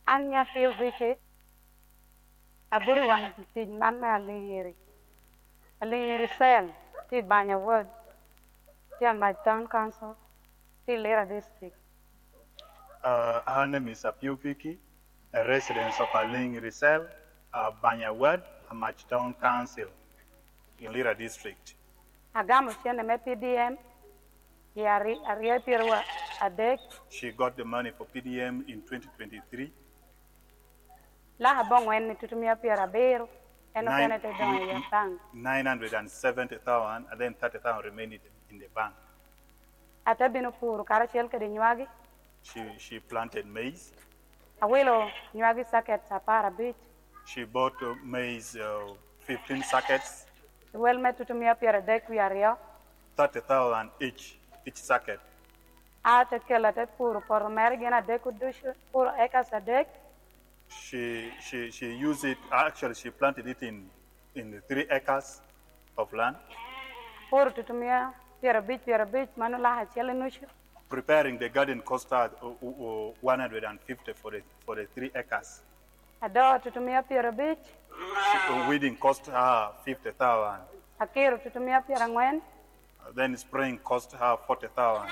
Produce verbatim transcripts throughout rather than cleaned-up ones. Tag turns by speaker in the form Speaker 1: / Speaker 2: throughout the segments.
Speaker 1: An Nyathi Vicky abedo wang tic man me Alingiri Alingiri Cell tye i Banya Ward tye Amac Town Council tye i Lira District.
Speaker 2: Uh, her name is Apio Vicky, a resident of Alingiri Cell, uh, Banya Ward, Amac Town Council in Lira District.
Speaker 1: Agamo cente me P D M i aryo pyero adek.
Speaker 2: She got the money for P D M in twenty twenty-three.
Speaker 1: Laka abongwen ni tutumia pyero abiro en okene te dongo i bank.
Speaker 2: nine hundred seventy thousand and then thirty thousand remained in the bank.
Speaker 1: Ate bino puro karacel kede nywagi.
Speaker 2: She, she planted maize.
Speaker 1: Awilo nywagi saket apar abic.
Speaker 2: She bought uh, maize, uh, fifteen sacks,
Speaker 1: Wel me tutumia pyero adek wiye aryo.
Speaker 2: thirty thousand each, each sacket.
Speaker 1: Ate kelo ate puro poto mere gin adek ducu puro acres adek.
Speaker 2: She, she, she used it, actually, she planted it in, in the three acres of land,
Speaker 1: Puro tutumia pyero abic pyero abic mano laka acel i nucu.
Speaker 2: Preparing the garden cost her uh, uh, one hundred fifty for the, for the three acres.
Speaker 1: Adoo tutumia pyero abic.
Speaker 2: She, uh, weeding cost her fifty thousand.
Speaker 1: Akiro tutumia pyero angwen.
Speaker 2: Then spraying cost her forty thousand.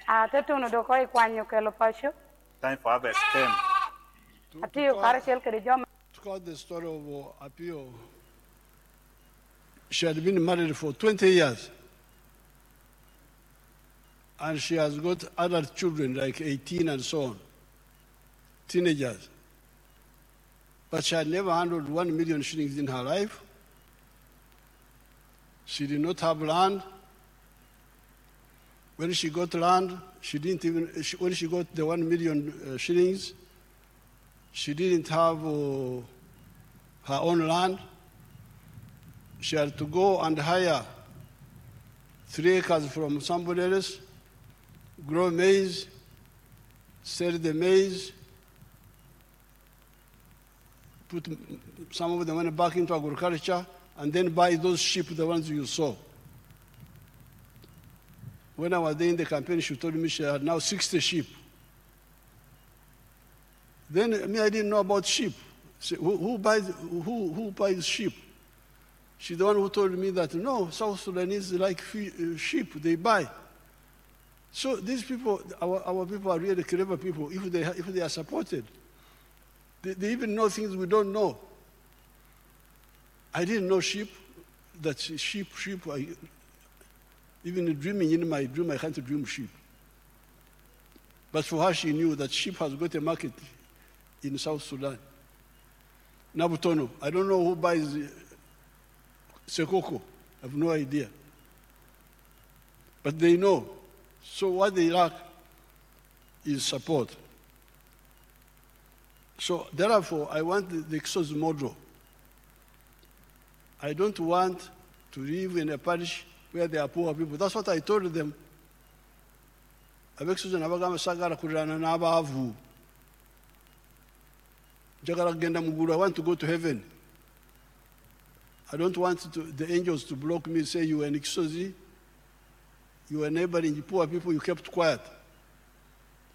Speaker 1: Ate tuno doko ikwanyo kelo paco.
Speaker 2: Time for harvest came.
Speaker 3: To,
Speaker 1: Atiyo
Speaker 3: to,
Speaker 1: karacel kede jo
Speaker 3: to cut the story of uh, Apio, she had been married for twenty years. And she has got adult children, like eighteen and so on, teenagers. But she had never handled one million shillings in her life. She did not have land. When she got land, she didn't even, she, when she got the one million uh, shillings, she didn't have uh, her own land. She had to go and hire three acres from somebody else, grow maize, sell the maize, put some of the money back into agriculture, and then buy those sheep, the ones you saw. When I was there in the campaign, she told me she had now sixty sheep. Then me, I didn't know about sheep. So who, who, buys, who, who buys sheep? She's the one who told me that no, South Sudanese like uh, sheep, they buy. So these people, our, our people are really clever people if they, if they are supported. They, they even know things we don't know. I didn't know sheep, that sheep, sheep, I, even dreaming in my dream, I can't dream sheep. But for her, she knew that sheep has got a market in South Sudan. Nabutono, I don't know who buys Sekoko. I have no idea. But they know. So what they lack is support. So therefore, I want the, the Kisozi model. I don't want to live in a parish where there are poor people. That's what I told them. Ab'e Kisozi nabagamba saagala kuliraana n'abaavu. Njagala kugenda mu ggulu. I want to go to heaven. I don't want to, the angels to block me, say, "You were in Kisozi, you were neighboring poor people, you kept quiet."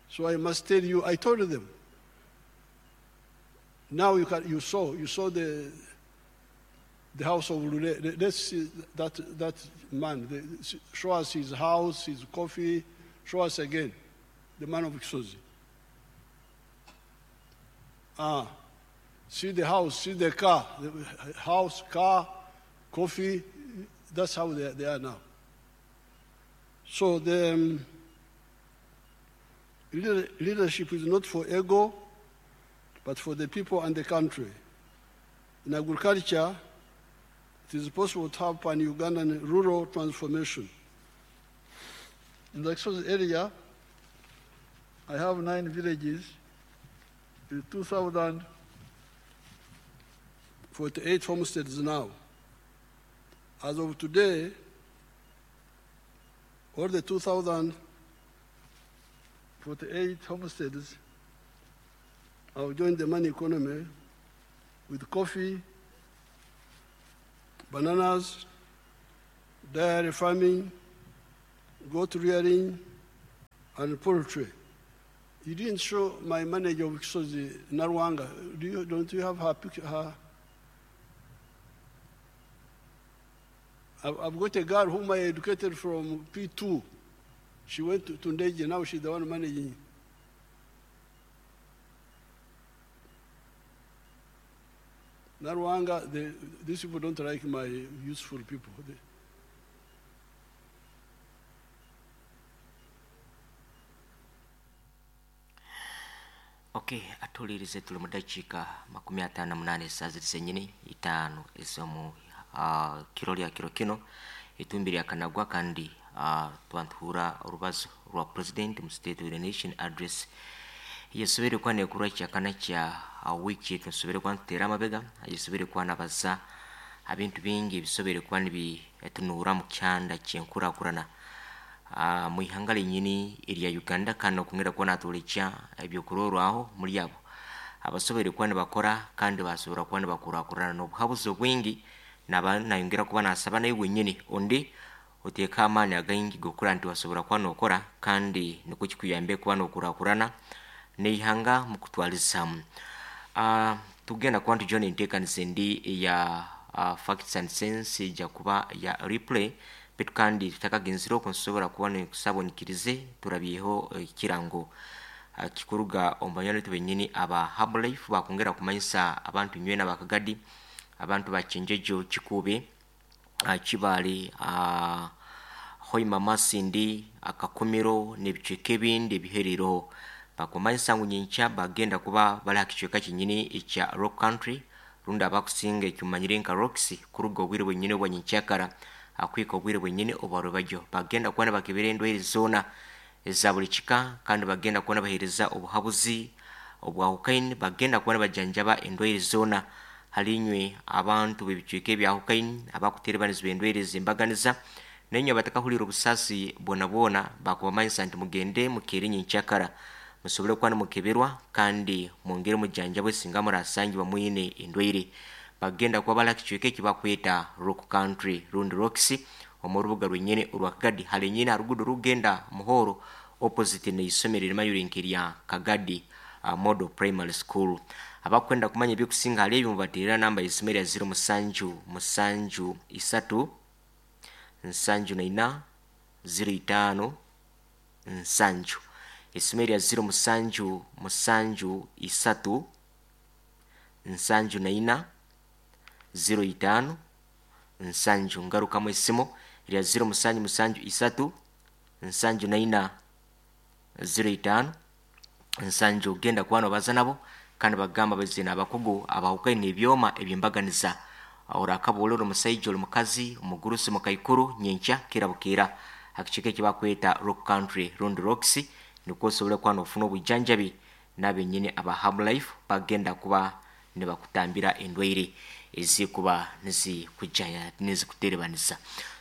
Speaker 3: So I must tell you, I told them. Now you, can, you saw, you saw the, the house of Lule. Let's see that, that man. The, show us his house, his coffee. Show us again, the man of Kisozi. Ah, see the house, see the car, the house, car, coffee. That's how they, they are now. So the um, leadership is not for ego, but for the people and the country. In agriculture, it is possible to have pan-Ugandan rural transformation. In the Kisozi area, I have nine villages with two thousand forty-eight homesteads now. As of today, all the two thousand forty-eight homesteads have joined the money economy with coffee, bananas, dairy farming, goat rearing, and poultry. You didn't show my manager of Kisozi, Narwanga. Do you, don't you have her picture? Her? I've, I've got a girl whom I educated from P two. She went to, to Ndeje, now she's the one managing. Narwanga, they, these people don't like my useful people. They,
Speaker 4: Okay, atulirize tuli mu dakiika makumi ataano na munaana essaawa ziri zennyini itaano ez'omu uh, kiro lya kiro kino etumbi lya kanagwa kandi uh, twantuhura orubazo rwa president mu State of the Nation address yesobere kuba neekurwa kyakana kya uh, wiiki tusobere kuba ntuteera amabega yesobere kuba nabaza ebintu bingi ebisobere kuba nibitunuura mu kyanda kyenkurakurana Uh, mwihanga lenyini erya Uganda kandi okwongera kuba natulekya ebyokurorwaho muri abo abasobere kuba nibakora kandi basobora kuba nibakurakurana n'obuhabuzi obwingi naba nayongera kuba nasaba naye wenyini ondi oteeka amaani againgi gokura nti wasobora kuba nokora kandi nikwo kikuyambe kuba nokurakurana neihanga mukutwalizamu. Uh, tugenda kuba ntujona enteekaniza endi eya uh, facts and sense ejja kuba ya replay bitu kandi tutakagenzire okwo nsobola kuba nekusaba onyikirize turabyeho ekirango uh, kikuruga omu banywani baitu bennyini aba Herbalife bakwongera kumanyisa abantu nywena bakagadi abantu bakyenjejo Kikuube uh, Kibaale uh, Hoima Masindi Akakumiro n'ebicweka ebindi ebiherereho bakumanyisa ngu nyenkya bagenda kuba bali aha kicweka kyenyini ekya Rock Country rundi abakusinga ekimanyire nka Rocks kuruga obwire bwenyini obwa nyenkyakara akwika obwire bwenyini obwarubajyo bagenda kuba nibakebera endwaire zoona eza buli kika kandi bagenda kuba nibaheereza obuhabuzi obwahukaini bagenda kuba nibajanjaba endwaire zoona halinywe abantu b'ebicweka ebyahukaini abakuterebanizibwa endwaire ez'embaganiza nainywe abatakahurira obusaasi bwona bwona bakubamanyisa nti mugende mukeere nyenkyakara musobole kuba nimukeberwa kandi mwongere mujanjabwe singa murasangibwa mwine endwaire. Bagenda kuba bali aha kicweka eki bakweta Rock Country rundi Rocks omu rubuga rwenyini orwa Kagadi hali nyine aha ruguudo rugenda Muhoro opposite n'eisomero erimayire nk'erya Kagadi uh, Model Primary School. Abakwenda kumanya ebyokusinga hali ebyo mubateerera namba y'esimu erya ziro musanju musanju isatu nsanju na ina ziro itaano nsanju esimu erya ziro musanju musanju isatu nsanju na ina ziro itaano nsanju ngarukamu esimu erya ziro musanju musanju isatu nsanju na ina ziro itaano nsanju genda kuba nobaza nabo kandi bagamba bazina abakugu abahukaine ebyoma ebyembaganiza orakabuula ori omusaija ori mukazi omugurusi mukaikuru nyenkya kira bukeera akicweka eki bakweta Rock Country rundi Rocks nikwo osobole kuba nofuna obujanjabi n'abenyini aba Herbalife bagenda kuba nibakutambira endwaire ezikuba nizikujaya nizikuterebanisa.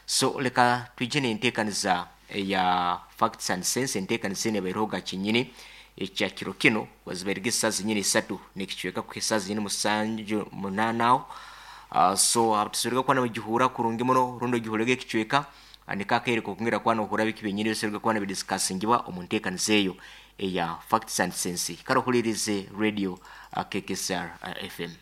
Speaker 4: So leka twije n'enteekaniza eya facts and sense enteekaniza eno ebaireho kinyini ekya kiro kino wazibairege essaawa zenyini isatu n'ekicweka kuha essaawa zenyini musanju munaana aho uh, so tusobole kuba nibagihura kurungi muno rundi ogihurege ekicweka niko akaire k'okwongera kuba nohura biki byenyini bisobole kuba nibidiscussingibwa omu nteekaniza eyo eya facts and sense. Kare ohuririze radio uh, K K S R uh, F M.